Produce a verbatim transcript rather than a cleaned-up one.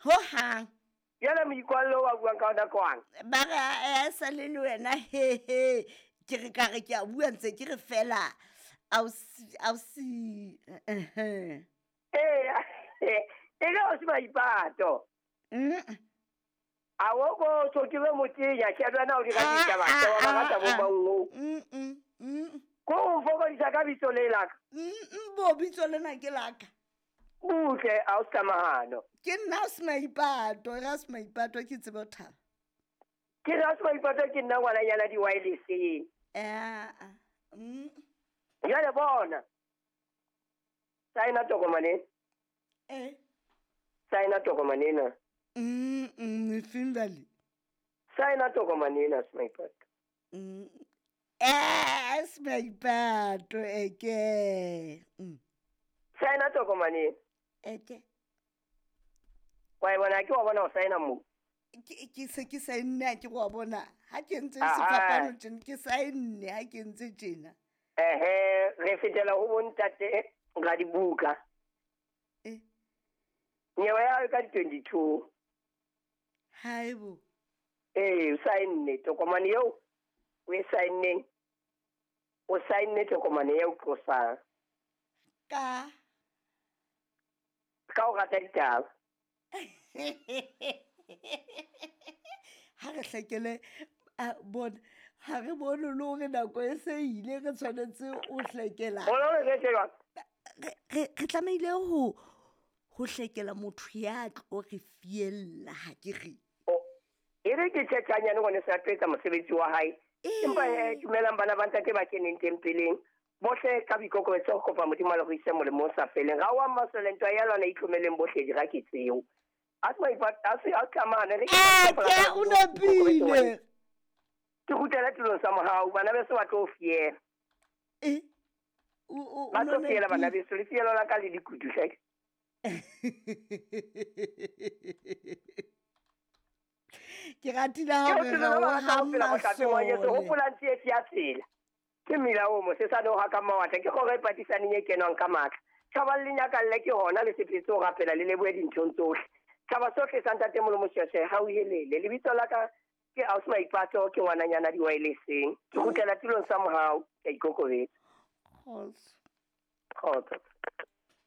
Ho hang. Jwale moikwallo wa buang ka ona kwang? Ba re a sa le le wena he he. Ke re ka re ke a bua ntse ke re fela ausi ausi eh eh e le o se maipato. Mm. A wo ko so ke be motenya ke a na o di ka ditaba tsa ba ba tsa bo bango. Mm mm mm. Ko o fokodisa ka bitso le la ka. Mm bo bitso lena ke la ka. Butle a o tsamahano. Ke nna o se maipato, ra se maipato ke tsebe ho thaba. Ke ra se maipato ke nna ngwananyana di wireless. Eh. Mm. Jwale bona. Saena tokomane. Eh. Saena tokomane ena. Mm mm finally. Saena tokomane ena se maipato. Mm. Eh, se maipato eke. Mm. Saena tokomane. Eke. Wa bona ke wa bona o saena mo. Ke ke se ke saenne ke wa bona. Ha ke ntse sefapano tjena ke saenne ha ke ntse tjena. Ehe, re fetela ho bontate ga dibuka. Eh. Nyewe ya ka twenty-two. Haibo. Eh, o saenne tokomane eo o e saenneng. O saenne tokomane eo qosang. Ka ka o rata ditaba. Ha re hlekele a bona ha re bone le hore nako e se ile re tshwanetse o hlekela. Re re tlamehile ho ho hlekela motho ya tlo re fiella ha ke re. E re ke tjhetjanyane ngwane sa tlo etsa mosebetsi wa hae. Empa eh dumelang bana ba ntate ba keneng tempeleng. Bohle ka boikokobetso ho kopa Modimo le go ise molemo o sa feleng. Ga wa masole ntwa ya lona itlhomeleng bohle dira ke tseo. A se maipato a se a tlamane re ke o nepile. Ke kgutlela tulong sa mohau bana beso ba tlo fiela. Eh o o ba tlo fiela bana beso le fielo la ka le dikutu hle. Ke ratile ha re re o ha masole. Hopola tsietsi ya tsela. Ke mmila o mosesane o haka mawatla ke kgoro e patisaneng e kenwang ka matla. Tjhaba le nyakalle ke hona le sepetse ho rapela le lebohe dinthong tsohle. Tjhaba sohle sa ntate Molomo Sheshe ha o helele. Lebitso la ka ke Ausi Maipato ke ngwananyana di wirelesseng. Ke kgutlela tulong sa mohau ke ikokobetsa. Kgotso. Kgotso.